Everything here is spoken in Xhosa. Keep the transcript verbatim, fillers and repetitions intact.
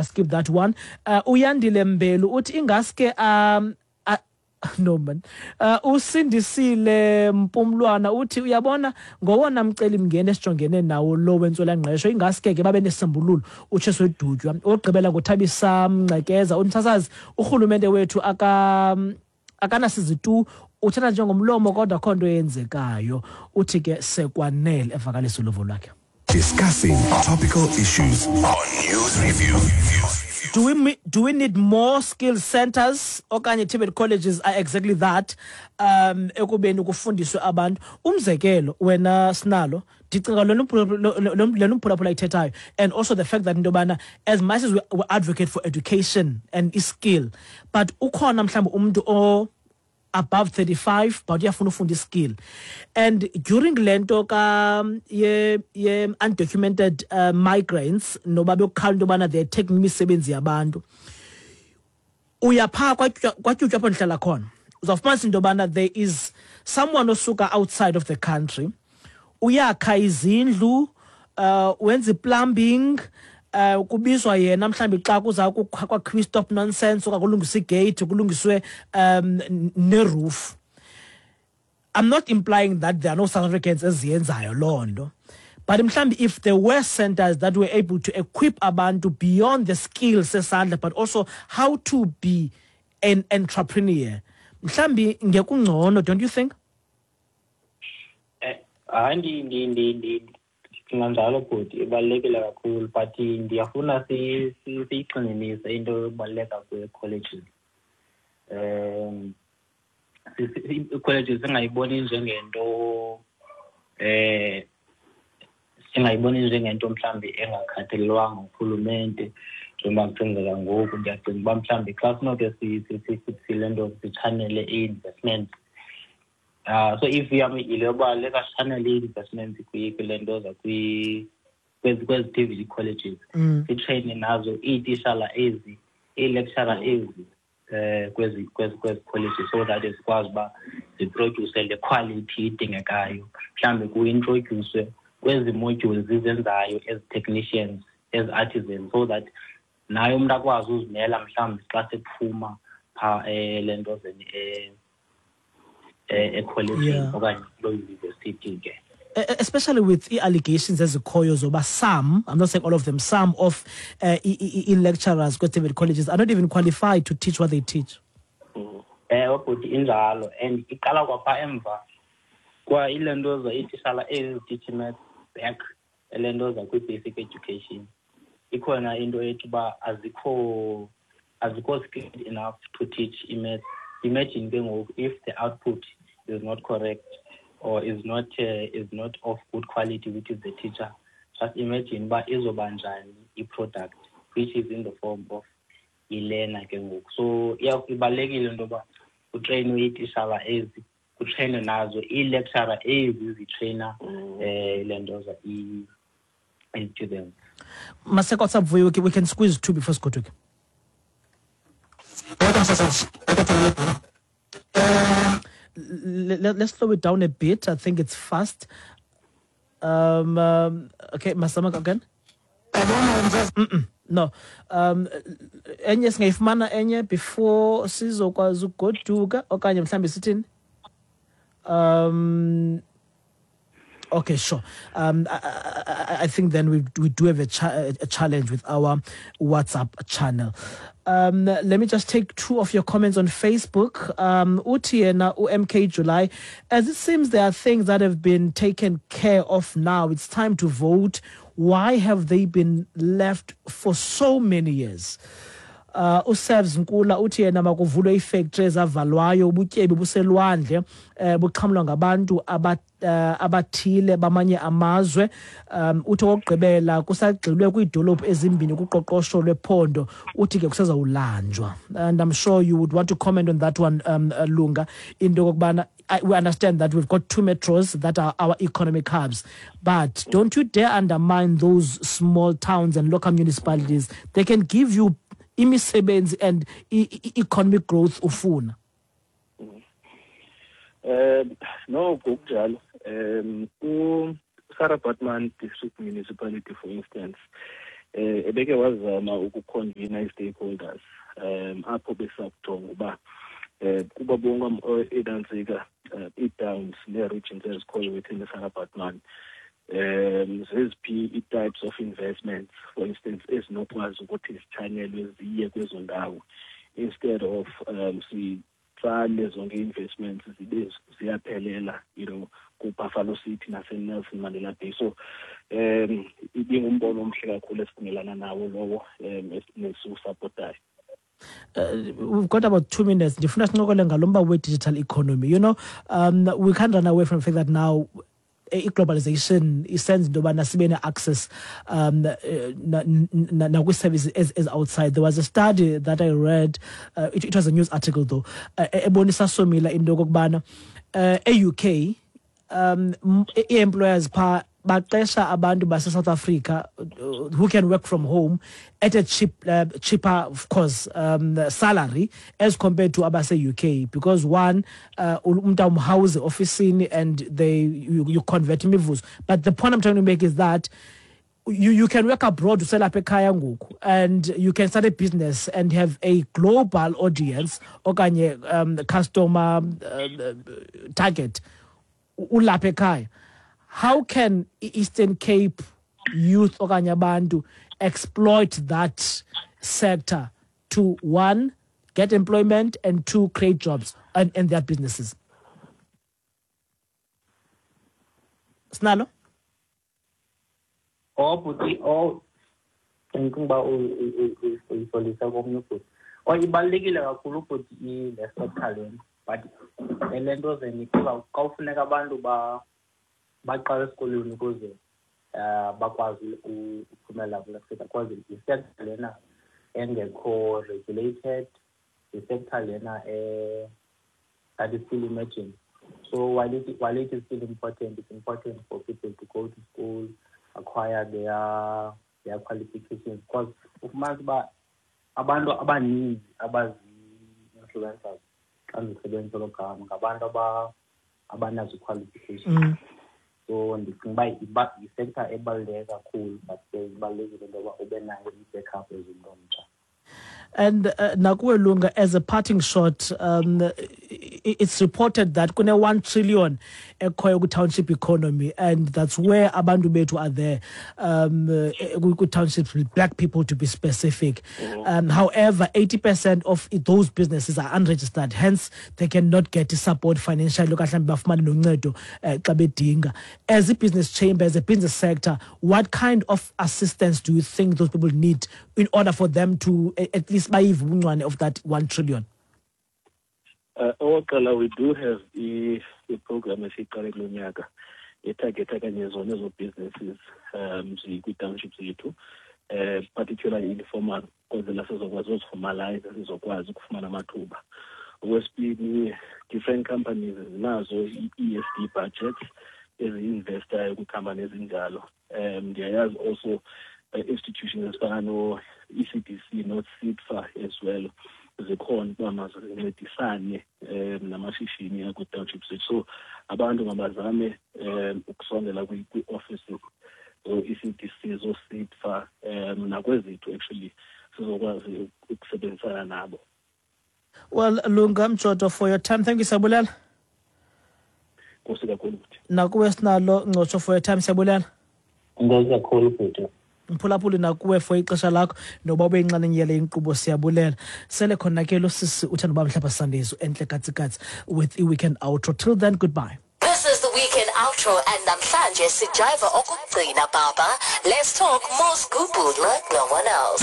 Skip that one. Uh, Uyandile Mbelu uthi ingaske um uh, no man. Uh, Usindisile Mpumlwana uthi uyabona ngowona mceli mngeni esijongene nawo lo wentswelangqesho, ingaske ke babe nesisombululo utsheso edutywa. Ogqibela ngoThabisa Mngcekeza, umsasazi, urhulumente wethu aka akanasizi tu, uthetha njengomlomo kodwa akho nto eyenzekayo. Uthi ke sekwanele, evakalisa uluvo lwakhe. Discussing topical issues on News Review. Do we, do we need more skill centers okanye T V E T colleges are exactly that, um ekubeni kufundiswe abantu? Umzekelo, wena Sinalo, ndicinga lona umphulaphula ayithethayo, and also the fact that into yobana as much as we, we advocate for education and skill, but ukhona mhlawumbi umntu o above thirty-five but uyafuna ufunda iskill, and during le nto ka ye, ye undocumented uh, migrants noba bekukhala into yobana they're taking imisebenzi yabantu, uya phaa kwaTyutyu apho ndihlala khona, uzawufumanisa into yobana there is someone osuka outside of the country, uyakha izindlu, uh, wenza i-plumbing, uh kubizwa yena mhlambi xa kuza kwakhiwa i-stop nonsense okanye kulungiswe igate, kulungiswe um neroof. I'm not implying that there are no South Africans eziyenzayo loo nto, but mhlambi if there were centers that were able to equip abantu beyond the skills sesandla but also how to be an entrepreneur, mhlambi ngekungcono, don't you think? Eh, hayi, ndi ndi ndi ndicinga njalo, bhuti, ibalulekile kakhulu, but ndiyafuna siyigxininise into yokubaluleka kwee-colleges. Um ii-colleges singayiboni njengento eh singayiboni njengento mhlawumbi engakhathalelwanga ngurhulumente njengoba kusenzeka ngoku. Ndiyacinga uba mhlawumbi xa sinoke sile nto sitshanele ii-investments, uh so if yam yile yoba let us channel ii-investments kule nto kwezi kwezi T V E T colleges, Mm. sitreyine nazo iitishala ezi, ii-lecturer ezi, eh kwezi kwezi kwezi colleges, so that zikwazi uba ziproduce le quality idingekayo. Mhlawumbi kuintroduce kwezi modules zizenzayo ezi technicians, ezi artisans, so that naye umntu akwazi uzimela mhlawumbi xa sephuma phaa le ntozeni ekholejini Yeah. okanye kuloo university ke. E- e- especially with i-allegations ezikhoyo zoba some, I'm not saying all of them, some of uh, i-lecturers kwe-T V E T colleges are not even qualified to teach what they teach. Ewe bhuti, injalo, and iqala kwapha emva kwa ile nto za iitishala ezi ziteach maths back ele nto za kwi-basic education. Ikhona into ethi uba azikho azikho skilled enough to teach i-maths. Imagine ke ngoku if the output is not correct or is not uh, is not of good quality, which is the teacher, just imagine uba izoba njani i-product, which is in the form of i-learner ke ngoku. So ibalulekile into yoba kutreyinwe iitishala ezi, kutreyinwe nazo ii-lecturer ezi zitreyina um le nto za i-students. Maseko Vuyo, we can squeeze two before sigoduke. Let, let's slow it down a bit. I think it's fast. Um, um, okay, Masama again. Mm-mm, no. Um, enye singayifumana enye before sizokwazi ukugoduka okanye mhlambi sithini? Um, okay, sure. Um, I, I, I think then we, we do have a, cha- a challenge with our WhatsApp channel. Um, let me just take two of your comments on Facebook. Um, uthi yena U M K July, as it seems there are things that have been taken care of now. It's time to vote. Why have they been left for so many years? Uh, uSevs Nkula uthi yena makuvulwe iifactory ezavalwayo, ubutyebi buselwandle, eh buxhamlwa ngabantu aba uh, abathile bamanye amazwe. um uthi okugqibela kusagxilwe kwiidolophu ezimbini kuqoqosho lwephondo, uthi ke kusezawulanjwa. And I'm sure you would want to comment on that one, um, uh, Lunga, into yokokubana we understand that we've got two metros that are our economic hubs, but don't you dare undermine those small towns and local municipalities. They can give you imisebenzi and e- e- economic growth ufuna. Um no ngokunjalo, um uSarah Baartman District Municipality, for instance, Eh ebeke wazama ukuconvene i-stakeholders um apho besakujonga uba eh kuba bonke edantsika i-towns nee-regions ezikhoyo within the Sarah Baartman um zeziphi i-types of investments, for instance, ezinokwazi ukuthi zitshanyelwe ziye kwezo ndawo instead of um sitsale zonke i-investments zibe ziyaphelela, you know, ku-Buffalo City nase-Nelson Mandela Bay. So um ibingumbono omhle kakhulu esivumelana nawo lowo um nesiwusapotayo. Uh, we've got about two minutes. Ndifuna sincokole ngalo mba we-digital economy. You know, um, we can't run away from the fact that now i-globalization isenza into yobana sibe ne-access um nakwi-services as, as outside. There was a study that I read, uh, it, it was a news article though, uh, ebonisa somila into yokokubana uh, e-U K um i-employers phaa baqesha abantu base South Africa uh, who can work from home at a cheap, uh, cheaper, of course, um, salary as compared to abase U K, because one, umntu uh, umhouse ofisini and they you, you convert imivuzo. But the point I'm trying to make is that you, you can work abroad uselapha ekhaya ngoku, and you can start a business and have a global audience okanye um, customer uh, target ulapha ekhaya. How can Eastern Cape youth okanye abantu exploit that sector to, one, get employment, and two, create jobs and, and their businesses? Sinalo? Oh, but oh, ndicinga uba uyisolisa komnye ubhuti. Oh, ibalulekile kakhulu ubhuti le sector lena, but le nto zeni xa kufuneka abantu ba baqala esikolweni ukuze uh bakwazi ukuphumela kule sector, because i-sector lena engekho regulated, i-sector lena eh that is still emerging. So while it, while it is still important, it's important for people to go to school, acquire their their qualifications, because ufumanisa uba abantu abaninzi abazi-influencers xa ndisebenzisa elo gama ngabantu abanazo qualifications. Mm. So ndicinga uba yi-sector ebaluleke kakhulu, but ke ibalulekile into yoba ube nayo i-backup as umntu omtsha. And uh, nakuwe Lunga, as a parting shot, um, it's reported that kune one trillion ekhoyo ku-township economy, and that's where abantu bethu are there, um, ku-townships, black people to be specific. Mm-hmm. Um, however, eighty percent of those businesses are unregistered, hence they cannot get support financially. Okanye bafumane noncedo xa bedinga. As a business chamber, as a business sector, what kind of assistance do you think those people need in order for them to at least bayive ubuncwane of that one trillion? Uh, okokuqala, we do have i-program esiyiqale kulo nyaka etargetha kanye zona ezo businesses um zikwi-township zethu, uh, particularly informal, kwenzela sizokwazi uziformalize, sizokwazi ukufumana amathuba. Okwesibini, different companies zinazo i-E S D budgets ezi-investayo kwiikhampani ezinjalo. Um ndiyayazi also uh, institutions ezifana no-E C D C no-SIDFA as well zikhona ukuba mazincedisane um namashishini akwi-township zethu. So abantu mabazame um ukusondela kwii-offices zo-E C D C, zo-SIDFA um nakwezethu actually sizokwazi ukusebenzisana nabo. Well, Lunga Mjoto, for your time, thank you, siyabulela. Nkosi kakhulu bhuti. Nakuwe Sinalo Ngcotsho, for your time, siyabulela. Nkosi kakhulu bhuti. Mphulaphuli nakuwe for ixesha lakho noba ube yinxalenye yale inkqubo, siyabulela. Sele khona ke lo sisi uthanda uba mhlapha Sundays entle katsikatsi with i-weekend outro. Till then, goodbye. This is the weekend outro, and namhlanje sijiva okugcina baba. Let's talk more scoop like no one else.